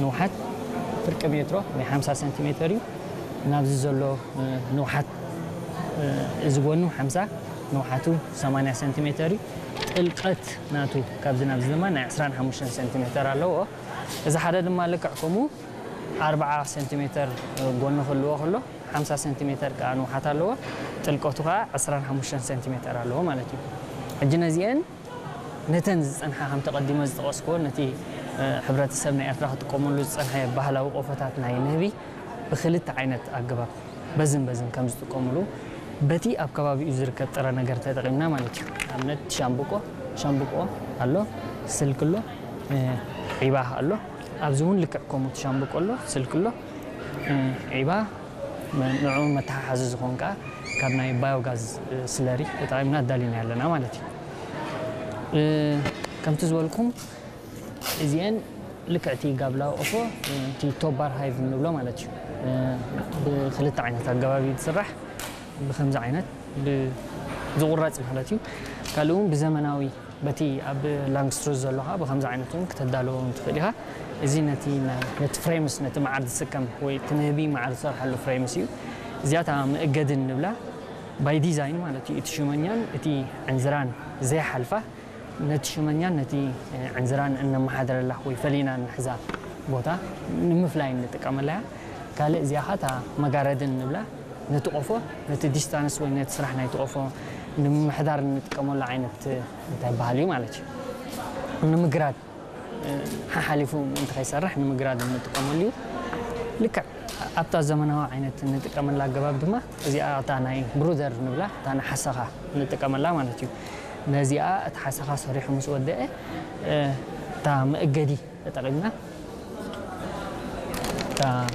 ንውሓት ፍርቂ ሜትሮ ናይ ሓምሳ ሰንቲሜተር እዩ። ናብዚ ዘሎ ንውሓት፣ እዚ ጎኑ ሓምሳ፣ ንውሓቱ ሰማንያ ሰንቲሜተር እዩ። ጥልቀት ናቱ ካብዚ ናብዚ ድማ ናይ ዕስራን ሓሙሽተን ሰንቲሜተር ኣለዎ። እዚ ሓደ ድማ ልክዕ ከምኡ ኣርብዓ ሰንቲሜተር ጎኒ ክህልዎ ከሎ፣ ሓምሳ ሰንቲሜተር ከዓ ንውሓት ኣለዎ። ጥልቀቱ ከዓ ዕስራን ሓሙሽተን ሰንቲሜተር ኣለዎ ማለት እዩ። ሕጂ ነዚአን ነተን ዝጸንሓ ከም ተቐዲመ ዝጠቐስክዎ ነቲ ሕብረተሰብ ናይ ኤርትራ ክጥቀመሉ ዝጸንሐ ባህላዊ ቆፎታት ናይ ንህቢ ብክልተ ዓይነት ኣገባብ በዝን በዝን ከም ዝጥቀምሉ በቲ ኣብ ከባቢኡ ዝርከብ ጥረ ነገር ተጠቒምና ማለት እዩ። ኣብነት ሻምብቆ፣ ሻምብቆ ኣሎ፣ ስልክ ኣሎ፣ ዒባ ኣሎ። ኣብዚ እውን ልክዕ ከምኡ ሻምብቆ ኣሎ፣ ስልክ ኣሎ፣ ዒባ ንዕኡ መተሓሓዚ ዝኾን ከዓ ካብ ናይ ባዮጋዝ ስለሪ ተጠቒምና ኣዳሊና ኣለና ማለት እዩ። ከምቲ ዝበልኩም እዚአን ልክዕቲ ጋብላ ኦፎ እቲ ቶባር ሃይቭ እንብሎ ማለት እዩ። ብክልተ ዓይነት ኣገባብ እዩ ዝስራሕ። ብከምዚ ዓይነት ዝቁረፅ ማለት እዩ። ካልኡ እውን ብዘመናዊ በቲ ኣብ ላንግስትሩዝ ዘሎ ከዓ ብከምዚ ዓይነት እውን ክተዳለዎ ትኽእል ኢኻ። እዚ ነቲ ፍሬምስ ነቲ መዓር ዝስከም ወይ እቲ ንህቢ መዓር ዝሰርሓሉ ፍሬምስ እዩ። እዚኣታ መእገድን ንብላ ባይ ዲዛይን ማለት እዩ። እቲ ሽመኛን እቲ ዕንዝራን ዘይሓልፋ ነቲ ሽመኛን ነቲ ዕንዝራን እነመሓድረላ ወይ ፈሊና እንሕዛ ቦታ ንምፍላይ እንጥቀመላ እያ። ካልእ እዚኣ ኸዓ እታ መጋረድን ንብላ ነቲ ቆፎ ነቲ ዲስታንስ ወይ ነቲ ስራሕ ናይቲ ቆፎ ንምምሕዳር እንጥቀመሉ ዓይነት እንታይ በሃል እዩ ማለት እዩ። ንምግራድ ሓሓሊፉ እንተ ከይሰርሕ ንምግራድ እንጥቀመሉ እዩ። ልክዕ ኣብታ ዘመናዊ ዓይነት እንጥቀመላ ኣገባብ ድማ እዚኣ እታ ናይ ብሩደር ንብላ እታ ንሓሰኻ ንጥቀመላ ማለት እዩ። ነዚኣ እቲ ሓሰኻ ሰሪሑ ምስ ወደአ እታ መእገዲ ተጠቒምና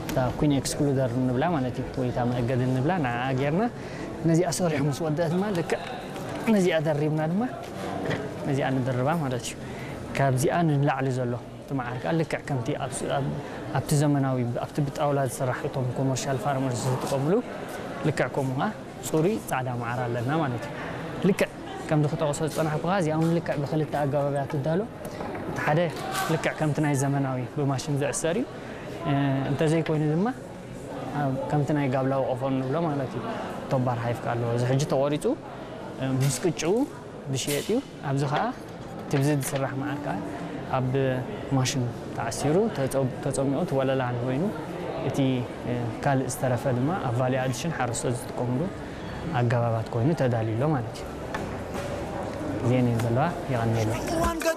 እታ ኩን ኤክስክሉደር ንብላ ማለት እዩ ወይ እታ መእገዲ ንብላ ንዓ ጌርና ነዚኣ ሰሪሑ ምስ ወደአ ድማ ልክዕ ነዚኣ ደሪብና ድማ ነዚኣ ንድርባ ማለት እዩ። ካብዚኣ ንላዕሊ ዘሎ እቲ መዓር ከዓ ልክዕ ከምቲ ኣብቲ ዘመናዊ ኣብቲ ብጣውላ ዝስራሕ እቶም ኮመርሻል ፋርመርስ ዝጥቀምሉ ልክዕ ከምኡ ከዓ ፅሩይ ፃዕዳ መዓር ኣለና ማለት እዩ። ልክዕ ከምዚ ክጠቕሶ ዝፀናሕኩ ከዓ እዚኣ እውን ልክዕ ብክልተ ኣገባብ እያ ትዳሎ። እቲ ሓደ ልክዕ ከምቲ ናይ ዘመናዊ ብማሽን ዝዕሰር እዩ። እንተዘይኮይኑ ድማ ከምቲ ናይ ጋብላዊ ቆፎ ንብሎ ማለት እዩ። ቶባር ሃይፍ ከዓ ኣለዎ። እዚ ሕጂ ተቆሪፁ ምስ ቅጭኡ ዝሽየጥ እዩ። ኣብዚ ከዓ ትብዚ ዝስራሕ መዓር ከዓ ኣብ ማሽን ተዓሲሩ ተፀሚቑ እቲ ወለላ ኮይኑ እቲ ካልእ ዝተረፈ ድማ ኣብ ቫሊ ኣድሽን ሓረስቶት ዝጥቀምሉ ኣገባባት ኮይኑ ተዳልዩ ኣሎ ማለት እዩ። እዚአን እየን ዘለዋ። የቐንየለይ።